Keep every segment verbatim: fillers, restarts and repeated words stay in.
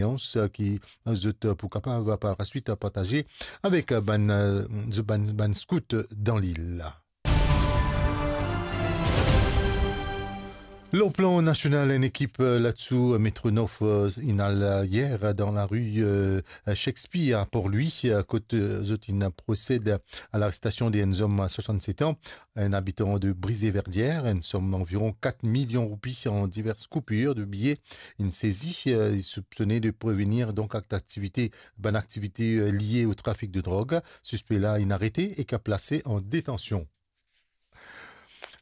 eksperyans, eh, ki, eh, zot, eh, pou kapav par laswit, eh, partaze avek, eh, bann, eh, zot bann, bann skout dan lil. Lor plan nasional, enn ekip, eh, ladsou, eh, Metro Nord, eh, inn al, eh, yer, eh, dan lari, eh, Shakespeare a Port-Louis, eh, kot, eh, zot inn prosed a larestasion de enn zom swasannset an, enn abitan de Brisé-Verdière. Enn som anviron kat milion roupi an divers koupir de biye inn sezi. Eh, li soupsone de prevenir donk ak aktivite, bann aktivite, eh, lie o trafik de drog. Sispe la inn arete ek plase an detansion.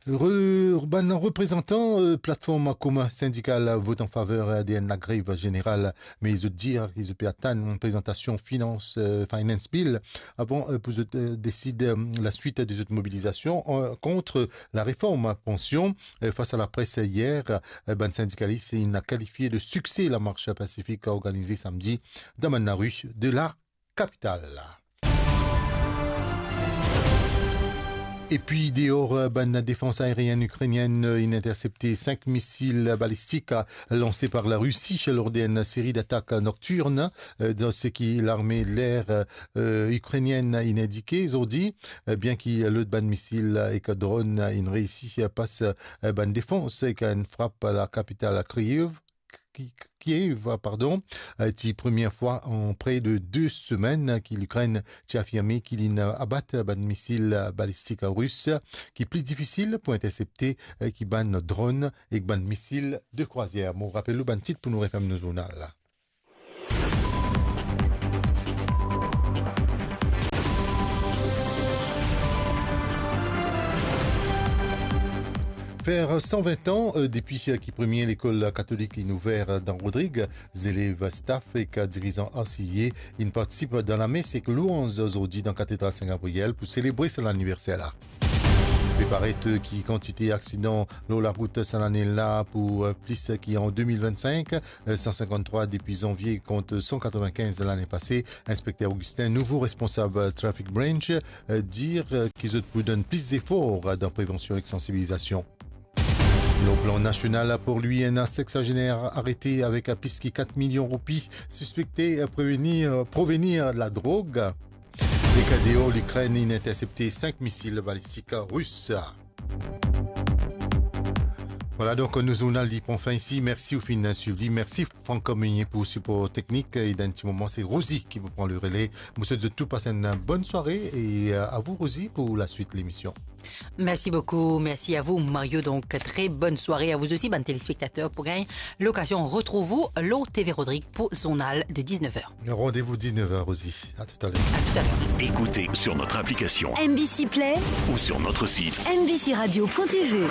Re-, bann reprezantan, eh, platform komin sindikal vot an faver, eh, de enn lagrev zeneral, me zot dir ki zot pe atann prezantasion finans, eh, finance bill avan, eh, pou zot, eh, desid, eh, laswit de zot mobilizasion, eh, kont lareform pansion. Eh, fas a lapres yer, eh, bann sindikalis inn kalifie de sikse lamars pasifik organize samdi dan bann lari de la kapital. Epi deor, eh, bann defans aerienn ikrenienn, eh, inn intersepte sink misil balistik, eh, lanse par Larisi lor de enn seri datak noktirn, eh, dan seki larme ler, eh, ikrenienn inn indike zordi, eh, bien ki lot bann misil ek dron inn reisi pas, eh, bann defans ek enn frap lakapital Kiev. Ki-, Kiev, pardon, eh, ti premie fwa an pre de de semenn ki Likrenn ti afirme ki linn abat bann misil balistik ris ki pli difisil pou intersepte, eh, ki bann dron ek bann misil de krwazier. Mo rapel ou bann tit pou nou referm nou zournal la. Fer san vin an, eh, depi, eh, ki premie lekol katolik inn ouver, eh, dan Rodrig, zelev, staff ek dirizan R C I A inn partisip dan lames ek lwanz zordi dan Katedral Sin Gabriel pou selebre sa laniverser la. Pe paret, eh, ki kantite aksidan lor larout sa lane la pou, eh, plis ki an de mil vinn-sink, eh, san sinkant-trwa depi zanvie kont san katrovin-kinz lane pase. Inspekter Augustin, nouvo responsab, eh, Traffic Branch, eh, dir, eh, ki zot pou donn plis zefor, eh, dan prevansion ek sansibilizasion. Lor plan nasional, Port-Louis, enn seksazener arete avek plis ki kat milion roupi, sispekte, eh, prevenir, eh, provenir ladrog. Ek deor, Likrenn inn intersepte sink misil balistik ris. Vwala, donk, nou zournal li pran fin isi. Mersi ou finn swiv li. Mersi Franck Communier pou sipor teknik. E dan enn ti moman, se Rosie ki pou pran lerele. Mo swet zot tou pas enn bonn sware e, euh, a vou, Rosie, pou laswit lemision. Merci beaucoup, merci à vous, Mario. Donc, très bonne soirée à vous aussi, bann telespektater, pou gagn lokazion retrouv ou lor T V Rodrig pou zournal de dix-neuf heures. Rendez-vous dix-neuf heures, Rosie. À tout à l'heure. À tout à l'heure. Écoutez sur notre application M B C Play ou sur notre site M B C radio point T V.